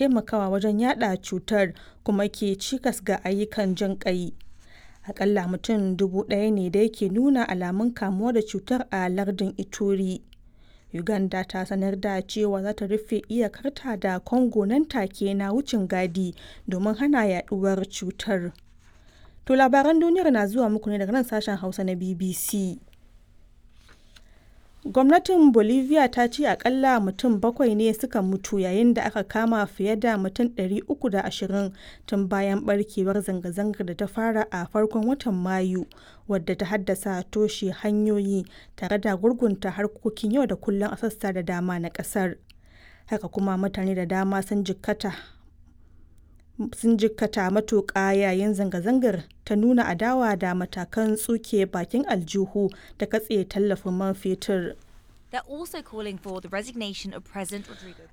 Taimakawa wajen yaɗa cutar kuma ke cikas ga ayyukan jin ƙai. Akalla mutum 1,000 ne dai ke nuna alamun kamuwa da cutar a lardin Ituri. Uganda ta sanar da cewa za ta rufe iyakarta da Congo nan take na wucin gadi domin hana yaduwar cutar. To labaran duniyar na zuwa muku ne daga nan sashen Hausa na BBC. Gwamnatin Bolivia ta ce akalla mutum bakwai ne suka mutu yayin da aka kama fiye da mutum 320 tun bayan barkewar zanga-zangar da ta fara a farkon watan Mayu, wadda ta haddasa toshe hanyoyi tare da gurgunta harkokin yau da kullum a sassa da dama na kasar. Haka kuma mutane da dama sun jikkata matuƙa yayin zanga-zangar ta nuna adawa da matakan tsuke bakin aljihu da katse tallafin man fetur.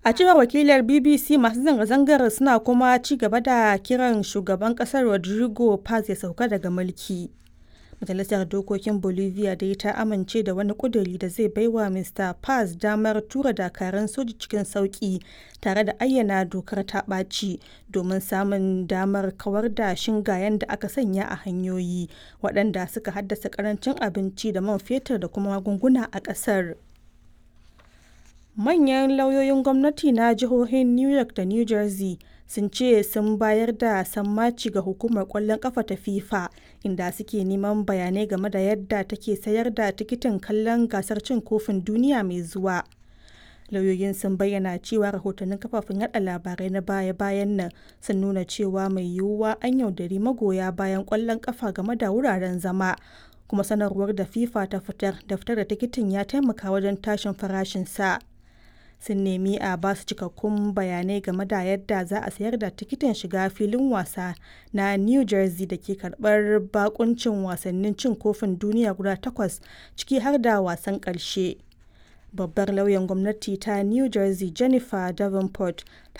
A cewar wakilar BBC, masu zanga-zangar suna kuma ci gaba da kiran shugaban kasar Rodrigo Paz ya sauka daga mulki. Majalisar Dokokin Bolivia dai ta amince da wani ƙuduri da zai baiwa Mr. Paz damar tura dakarun soji cikin sauƙi tare da ayyana dokar ta ɓaci domin samun damar kawar da shingayen da aka sanya a hanyoyi, waɗanda suka haddasa ƙarancin abinci da man fetur da kuma magunguna a ƙasar. Manyan lauyoyin gwamnati na jihohin New York da New Jersey sun ce sun bayar da sammaci ga hukumar kwallon kafa ta FIFA, inda suke neman bayanai game da yadda take sayar da tikitin kallon gasar cin kofin duniya mai zuwa. Lauyoyin sun bayyana cewa rahotannin kafafen yada labarai na baya-bayan nan sun nuna cewa mai yiwuwa an yaudari magoya bayan kwallon kafa game da wuraren zama, kuma sanarwar da FIFA ta fitar da fitar da tikitin ya taimaka wajen tashin farashinsa. Sun nemi a ba su cikakkun bayanai game da yadda za a sayar da tikitin shiga filin wasa na New Jersey da ke karbar bakuncin wasannin cin kofin duniya guda takwas, ciki har da wasan ƙarshe. Babbar lauyan gwamnati ta New Jersey, Jennifer Davenport, ta